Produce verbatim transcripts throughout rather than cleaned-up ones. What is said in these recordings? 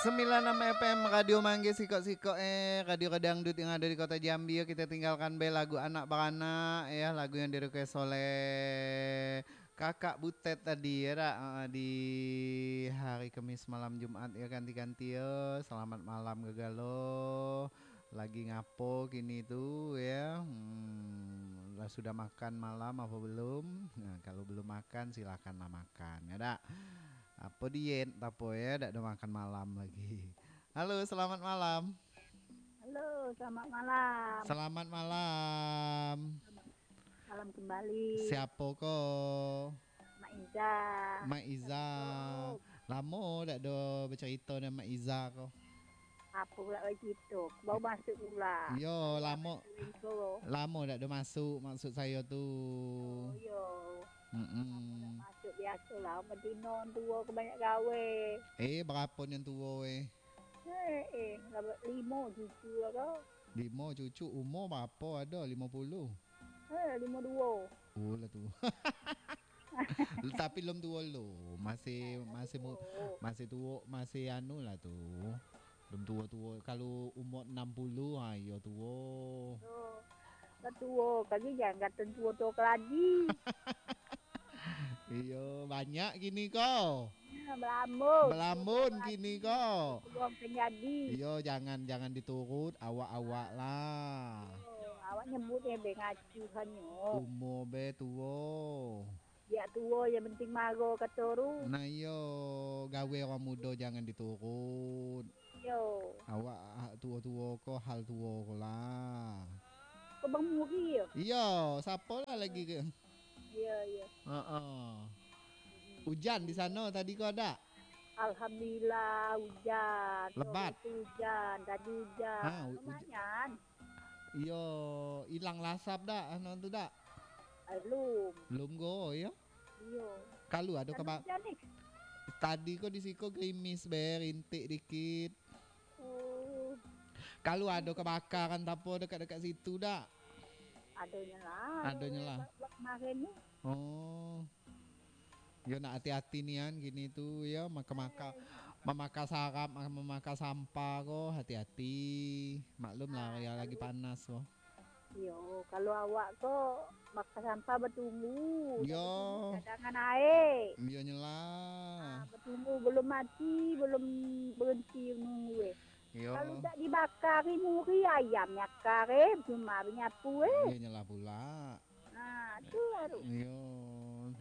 Sembilan enam F M Radio Manggis, sikok-sikok eh, radio kadangdut yang ada di kota Jambi, yo. Kita tinggalkan be lagu Anak Baranak, ya, lagu yang di-request oleh Kakak Butet tadi, ya dak? Ah, di hari Kamis malam Jumat, ya, ganti-ganti, yo. Selamat malam, Gagalo. Lagi ngapo kini tu, ya? Hmm, lah sudah makan malam apa belum? Nah, kalau belum makan, silakanlah makan, ya dak? Apo diet, apo, ya, dak ada makan malam lagi. Halo, selamat malam. Halo, selamat malam. Selamat malam. Malam kembali. Siapo ko? Mak Iza. Mak Iza. Assalamualaikum. Lamo dak do bacarito dengan Mak Iza ko. Apo pula bacarito? Baru masuk pula. Yo, lamo. Lamo dak do masuk, maksud sayo tu. Oh, yo. Mm-mm. Masuk biaso lah, betino tuo ko banyak gawe. Eh, barapo nian tuo, eh? Eh, eh, lah limo cucu lah ko. Limo cucu, umur barapo ado? Limo puluh? Eh, limo duo. Oh, lah tuo. Tapi lum tuo lo. Masih, masih mu-, masih tuo, masih anu lah tu. Lum tuo-tuo. Kalau umur enam puluh, ha, iyo tuo. Yo. Lah tuo, kami jangan kato tuo-tuo keladi. Iyo, banyak kini ko. Ya, belambun. Belambun kini ko. Peluang kan jadi. Iyo, jangan, jangan diturut awak-awak lah. Oh, awak nyebut eh, be ngacuh hanyo. Umur be tuo. Biak tuo yang penting maro kato tu. Nah, iyo, gawe urang mudo jangan diturut. Iyo. Awak, ah, tuo-tuo ko, hal tuo ko lah. Ko bamuri yo? Iyo, sapo lah lagi ke? Iyo, iyo. Heeh. Ujan di sano tadi ko ado? Alhamdulillah, ujan. Lebat? Sore tu ujan, tadi ujan. Ha, u-, uj-, lumayan. Iyo, ilang lah asap dak, anu tu dak? Eh, lum. Lum ko, iyo? Iyo. Kalu ado kaba-, ujan ni? Tadi ko di siko gerimis be, rintik dikit. Oh. Kalu ado kabakaran apo dekat-dekat situ dak? Adonyo lah. Adonyo lah. Ba-, ba-, kemarin ni. Oh. Yo, nak ati-ati nian kini tu, yo, maka-maka, mamaka sarap, ma-, mamaka sampah ko, hati-hati. Maklum lah, ah, yo, lagi panas ko. Iyo, kalau awak ko maka sampah batunggu. Yo. Batunggu cadangan aek. Iyo, nyelah. Ah, batunggu, belum mati, belum berhenti nunggu, eh. Iyo. Kalau dak dibakari, muri ayam nyakar, eh, cuma banyapu, eh. Iyo, nyelah pula. Ha, tu baru. Iyo,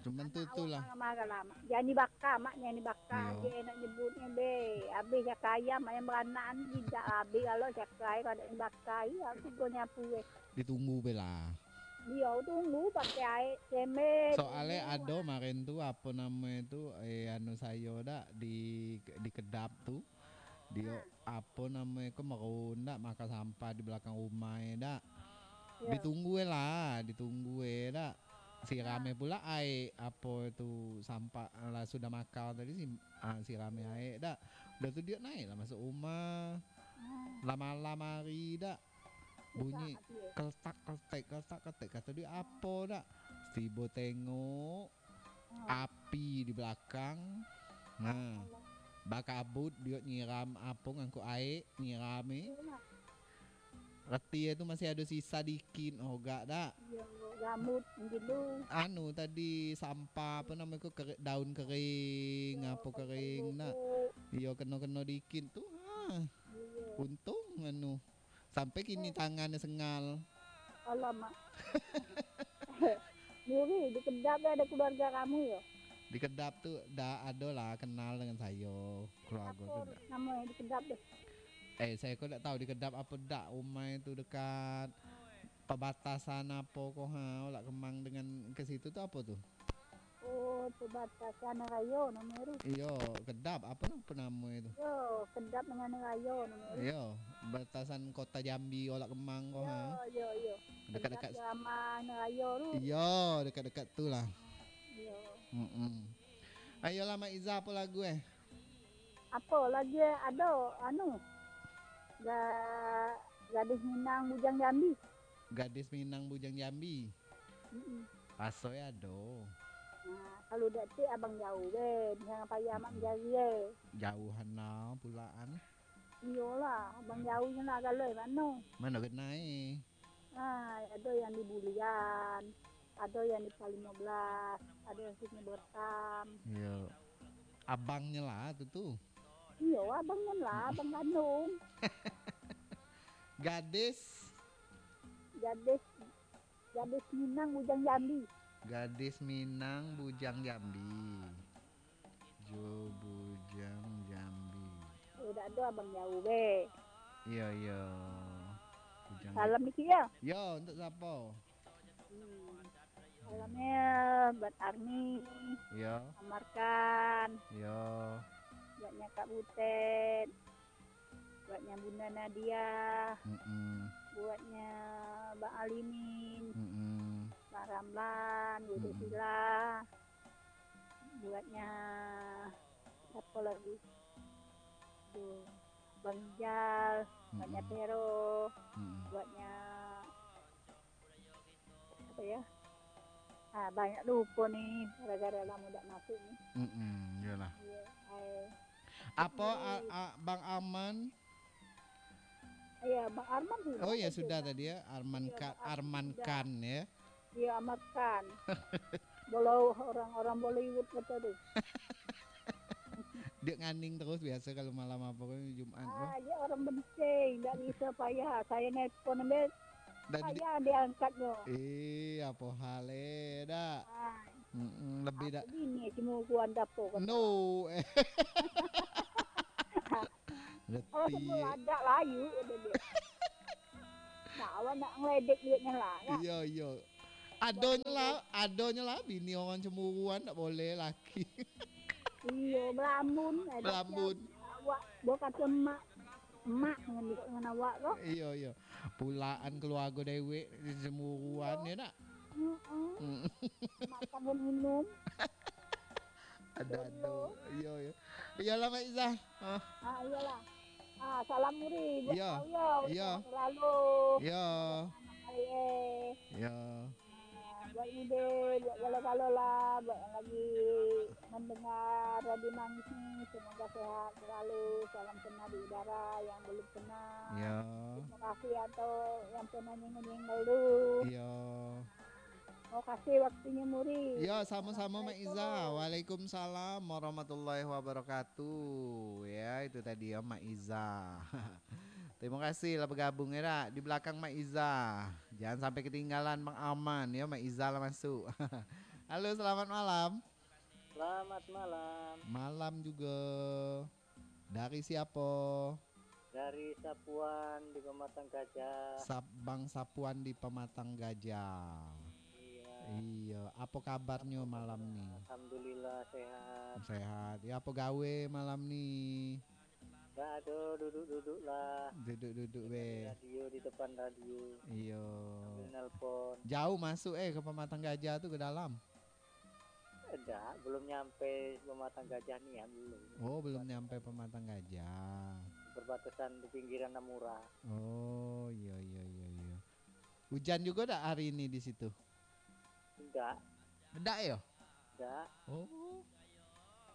cuman tu, anak tu awak lah. Marah-marah lah, Mak. Jan dibaka, Mak, jan dibaka. Iyo. Jan nak nyebutnyo, be. Abih cakar ayam, ayam baranak ni, tidak abih kalau cakar, kalau dak dibaka, iyo, aku go nyapu, eh. Ditunggu be lah. Iyo, tunggu, pakai aek, semen, tunggu. Soalnyo ado kemarin tu, apo namonyo tu, eh, anu sayo dak, di, di kedap tu. Dio, ha. Apo namonyo ko, merun dak, maka sampah di belakang rumah e dak. Yo. Ditunggu e lah, ditunggu e dak. Siram e, ha, pula aek, apo tu, sampah, lah sudah maka tadi si-, ah, siram e aek dak. Udah tu dio naik lah masuk rumah. Ha. Lah malam hari dak. Bunyi keletak-keletek, keletak-keletek. Kato dio, "Apo dak?" Tibo tengok, api di balakang. Nah, bakabut dio nyiram apo, ngangkuk aek, nyiram e. Reti e tu masih ado sisa dikit, ogak dak? Iyo, rambut mungkin tu. Anu tadi, sampah, apo namo ko, kere-, daun kering, apo kering dak? Iyo, keno-keno dikit tu. Ha. Iyo. Untung anu. Sampai kini tangannyo sengal. Alamak. Ngeri, di Kedap ado keluarga kamu yo? Di Kedap tu dak ado lah kenal dengan sayo, keluarga tu dak. Apo namonyo di Kedap tu? Eh, sayo ko dak tahu di Kedap apo dak, umai tu dekat pabatasan apo ko ha, Olak Kemang dengan ke situ tu apo tu? Oh, perbatasan rayo namonyo tu. Iyo, Kedap, apo na-, apo namo itu? Iyo, Kedap dengan rayo namonyo tu. Iyo, batasan kota Jambi, Olak Kemang ko, ha? Iyo, iyo. Dekat-dekat Kedap sama rayo tu. Iyo, dekat-dekat tu lah. Iyo. Mm-mm. Ayolah, Mak Iza, apo lagu, eh? Apo lagu, eh? Ado, anu, Ga-, Gadis Minang Bujang Jambi. Gadis Minang Bujang Jambi. Mm-mm. Raso e ado. Nah, Kalau dak cek abang jauh be, jangan payah amak mencari e. Jauhan lah pulaan. Iyolah, abang jauh nyo lah, kalau mano? Mano genai? Ah, ado yang di Bulian, ado yang di Palimo Belas, ado yang Sungai Botam. Iyo. Abangnyo lah tu tu. Iyo, abangnyo lah, abang kandung. Gadis. Gadis, gadis Minang bujang Jambi. Gadis Minang bujang Jambi. Jo bujang Jambi. Oh, dak ado abang jauh be. Iyo, iyo. Bujang Salam dikit yo. Yo, untuk siapo? Hmm. Salamnyo buat Arni, Yo. Amarkan, Yo. Buatnya Kak Butet, buatnya Bunda Nadia, Mm-mm. Buatnya Bang Alimin, Mm-mm. Bang Ramlan, Bu Mm-mm. Sila, buatnya siapa lagi? Tuh, Bang Ijal, buatnya Mm-mm. Pero, Mm-mm. Buatnya apa ya? Ah, banyak lupo ni, gara-gara lamo dak masuk ni. Mm-mm, iyolah. Iya, ai. Apo, Jadi a-, a-, Bang Aman? Iya, Bang Arman sudah Oh ya, tadi, sudah Bang. Tadi ya, Arman Iya, Ka-, Bang Arman Arman sudah. Khan ya. Iya, Ahmad Khan. Kalau orang-orang Bollywood kata tu. Dia nganing terus biasa kalau malam apa kan, Jumat tu. Ah, dia orang benceng, ndak bisa payah. Saya nelpon ambil Dah di- Payah diangkatnyo. Eh, apo hal eh, dak? Ah. Mm-mm, lebih dak? Bini cuma ukuran dapo kan? No. Kalau Reti. Semua ada layu, kata dia. Nah, awak nak ngeledek duitnya lah, kan? Iyo, iyo. Adonyo lah, adonyo lah bini orang cemburuan, tak boleh laki. Iyo, belamun. Eh, Belamun. Awak, bukan cuma mak dengan, dengan awak tu. Iyo, iyo. Pulaan keluarga dewek cemburuan, Iyo. Ya nak? Mm-mm. Mm. Makan dan minum. Ada, ada. Iyo, iyo. Iyalah, Mak Iza. Ah. Ah, iyalah. Ah, salam muri buat Iyo. Kau, yo. Iyo. Selalu. Iyo. Anak saya. Iyo. Ah, buat ide, buat galo-galo lah, buat yang lagi mendengar Radio Manggis ni, semoga sehat selalu. Salam kenal di udara yang belum kenal. Iyo. Terima kasih atau yang pernah nyengol-nyengol dulu. Iyo. Makasih waktunya, Muri. Ya, sama-sama, Mak Iza. Assalamualaikum. Waalaikumsalam warahmatullahi wabarakatuh. Ya, itu tadi ya, Mak Iza. Terima kasih lah bergabung ya, dak. Di belakang Mak Iza. Jangan sampai ketinggalan Bang Aman ya, Mak Iza lah masuk. Halo, selamat malam. Selamat malam. Malam juga. Dari siapa? Dari Sapuan di Pematang Gajah. Sap-, Bang Sapuan di Pematang Gajah. Iya. Iya, apa kabarnya malam ni? Alhamdulillah, sehat. Sehat. Ya, apa gawe malam ni? Nggak ada, duduk-duduk lah. Duduk-duduk, Dengerin weh. Radio, di depan radio. Iya. Sambil nelpon. Jauh masuk, eh, ke Pematang Gajah tu, ke dalam? Dak, belum nyampe Pematang Gajah nian, belum. Oh, belum nyampe Pematang Gajah. Perbatasan di pinggiran Namura. Oh, iya, iya, iya, iya. Hujan juga dak hari ini di situ? Enggak. Dak yo? Enggak. Oh.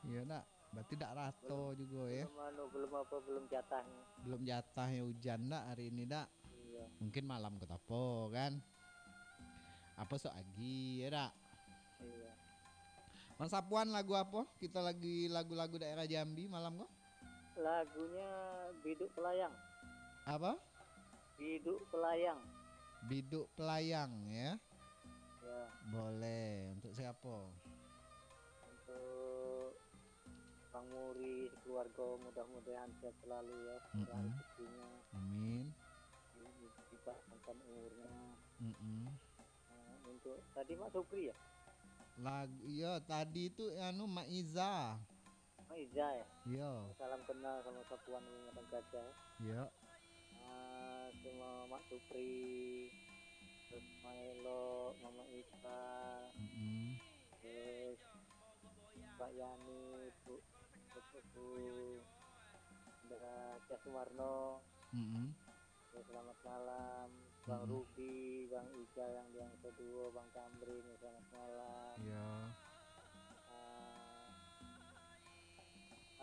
Iya, dak. Berarti dak rato Belum, juga ya. Belum anu, belum apa, belum jatahnya. Belum jatahnya hujan dak hari ini dak? Iya. Mungkin malam ko tapo kan? Apa sok agi ya dak? Iya. Mas Sapuan, lagu apa? Kita lagi lagu-lagu daerah Jambi malam ko? Lagunya Biduk Pelayang. Apa? Biduk Pelayang. Biduk Pelayang ya. Ya. Boleh. Untuk siapa? Untuk Bang Muri, sekeluarga, mudah-mudahan sehat selalu ya, murah Mm-mm. rezekinya, Amin. di-, di-, dipanjangkan umurnya. Mm-mm. Nah, untuk tadi Mak Supri ya? Lagu, iya, tadi tu anu Mak Iza. Mak Iza ya? Iya. Salam kenal sama Sapuan di Padang Gajah. Iya. Ah, sama Mak Supri, terus Mak Elo, Mama Ipa, Mm-mm. terus Pak Yani, Bu, Bu, Bu, Indra Syah Sumarno. Mm-mm. Ya, selamat malam, Bang Mm-mm. Rubi, Bang Ijal yang, yang kedua, Bang Kamrin, ya, selamat malam. Iya.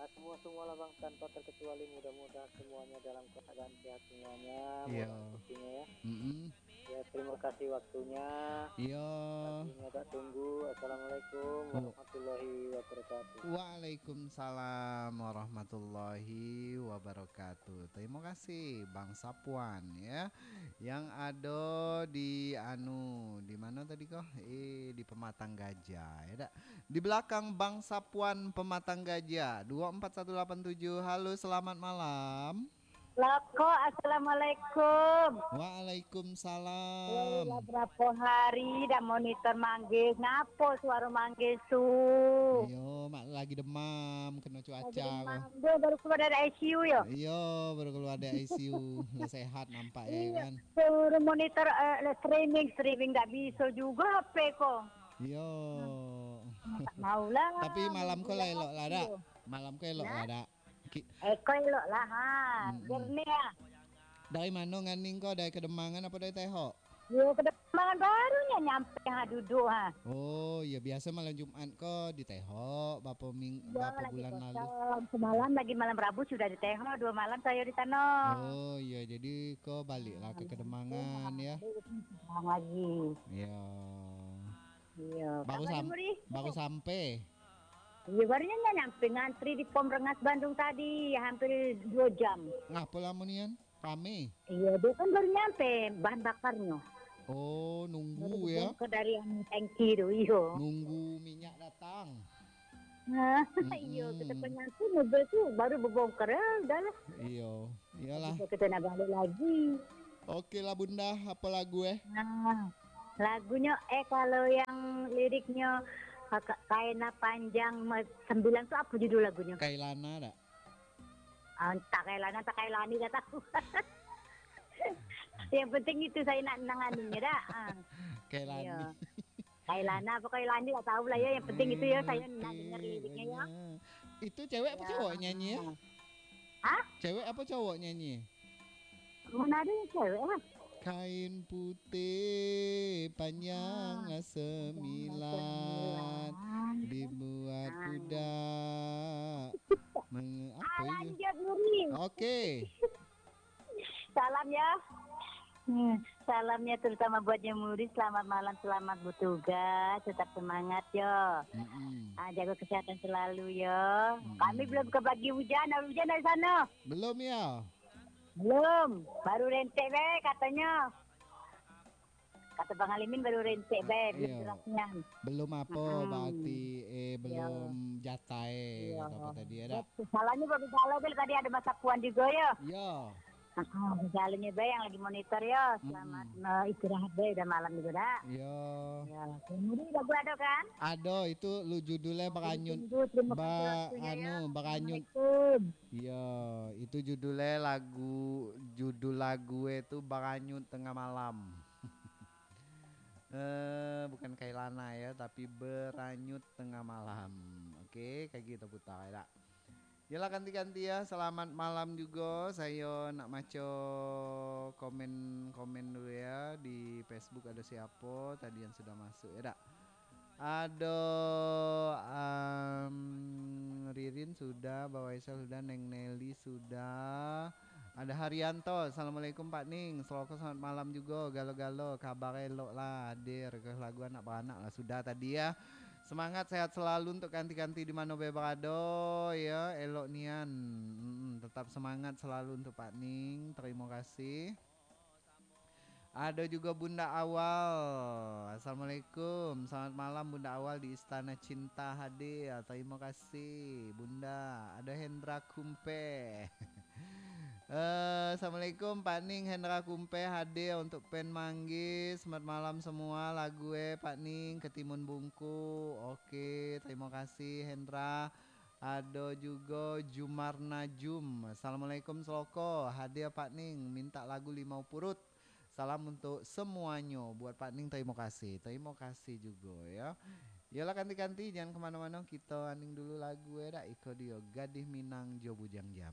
Semua-semualah, Bang, tanpa terkecuali, mudah-mudahan semuanya dalam keadaan sehat semuanya, Iya. murah rezekinya, ya. Mm-mm. Ya, terima kasih waktunya. Iya. Lagi agak tunggu. Assalamualaikum Wa- warahmatullahi wabarakatuh. Waalaikumsalam warahmatullahi wabarakatuh. Terima kasih, Bang Sapuan, ya. Yang ada di, anu, di mana tadi kah? Eh, di Pematang Gajah, ya dak? Di belakang Bang Sapuan Pematang Gajah, dua empat satu lapan tujuh. Halo, selamat malam. Loko, assalamualaikum. Waalaikumsalam. Lah berapa hari dah monitor manggis. Ngapo suaro manggis tu? Iyo, mak lagi demam, kena Lagi cuaca. demam. Dia baru keluar dari I C U, yo? Iyo, baru keluar dari I C U. Lah sehat nampak, ya Iya, kan? Suruh monitor, eh, streaming, streaming tak bisa juga H P ko. Iyo. Tak maulah. Tapi malam ko lah elok lah, dak? Iyo. Malam ko elok Nah? lah, dak? Ki- Eh, ko elok lah, ha. Mm-mm. Jernih, ha. Dari mano nganing ko? Dari Kedemangan apo dari Tehok? Yo, Kedemangan baru nyo nyampe, ha, duduk, ha. Oh, iyo, biaso malam Jumat ko di Tehok, bapo ming-, Yo, bapo lagi bulan lalu? kosong. Semalam lagi malam Rabu sudah di Tehok, dua malam sayo di sano. Oh, iyo, jadi ko balik lah ke Hmm, Kedemangan, ya? balik ke Kedemangan lagi. Iyo. Iyo, Baru kabar sam-, Muri? baru sampai? Iyo, baru nyo nyampe, ngantri di Pom Rengas Bandung tadi, hampir dua jam. Ngapo lamo nian? Rame? Iyo, dia kan baru nyampe bahan bakarnyo. Oh, Baru nunggu ya? dibongkar dari anu tangki tu, iyo. Nunggu minyak datang. Nah, Mm-mm. iyo, kita pengantri mobil tu baru berbongkar, ya, udahlah. Iyo, iyolah. Bisa kita nak balik lagi. Oke lah, Bunda, apa lagu, eh? Nah, lagunyo, eh, kalau yang liriknyo, eh, Ka-, Kaina Panjang me-, Sembilan tu apa judul lagunyo? Kailana dak? Ah, entah Kailana, entah Kailani, tak tahu. Yang penting itu saya nak nang anunya dak. Ah. Kailani. Iyo. Kailana apa Kailani tak tahu lah ya. Yang penting itu ya, saya nak dengar Oke, liriknya ya. banyak. Itu cewek apa Ya. cowok nyanyi ya? Hah? Cewek apa cowok nyanyi? Mana ada yang cewek lah. Kain putih panjang Ah, lah sembilan, sembilan. dibuat Ah. budak. Menge-, apa Alah, itu? dia Muri. Oke. Salam ya. Hmm, salamnya terutama buat Nyomuri. Selamat malam, selamat bertugas, tetap semangat yo. Mm-mm. Ah, jaga kesehatan selalu yo. Mm-mm. Kami belum kebagi hujan, ada hujan dari sana? Belum ya? Belum, baru rentek be katonyo. Kato Bang Alimin baru rentek be, belum Iyo. derasnya. Belum apa, Mm-mm. berarti, eh, Iyo. belum jatai, Iyo. kato apa tadi, ya dak? Salahnyo baru jalan be, tadi ada Bang Sapuan juga yo. Iyo. Heeh, salahnyo be yang lagi monitor yo. Selamat, Mm-mm. eh, istirahat be, udah malam juga dak? Iyo. Ya, kemudian lagu ada kan? Ado, itu lu judulnya Beranyut. Ditunggu, terima kasih Ba-, waktunya ya. anu, Beranyut. Assalamualaikum. Iyo, itu judulnya lagu, judul lagu itu Beranyut Tengah Malam. Eh, bukan Kailana ya, tapi Beranyut Tengah Malam. Oke, kayak gitu putar ya, dak? Yalah, ganti-ganti ya. Selamat malam juga. Saya nak maco komen-komen dulu ya. Di Facebook ada siapa tadi yang sudah masuk ya, dak? Ado, am, Ririn sudah, Bawaisal sudah, Neng Nelly sudah. Ada Haryanto, "Assalamualaikum Pak Ning, Seloko selamat malam juga, galo-galo, kabar elok lah, hadir, request lagu anak baranak lah sudah tadi ya. Semangat, sehat selalu untuk kanti-kanti di mano be barado ya, elok nian. Mm-mm, tetap semangat selalu untuk Pak Ning, terima kasih." Ada juga Bunda Awal. "Assalamualaikum. Selamat malam Bunda Awal di Istana Cinta hadir. Terima kasih Bunda." Ada Hendra Kumpe. Eh, "Assalamualaikum Pak Ning, Hendra Kumpe hadir untuk Pen Manggis. Selamat malam semua. Lagu eh Pak Ning, Ketimun Bungku." Oke, terima kasih Hendra. Ada juga Jumar Najum. "Assalamualaikum Seloko. Hadir Pak Ning, minta lagu Limau Purut. Salam untuk semuanya." Buat Pak Ning, terima kasih. Terima kasih juga ya. Yalah, kanti-kanti, jangan kemana-mana. Kita aning dulu lagu ya dak. Iko dia, Gadih Minang jo Bujang Jam.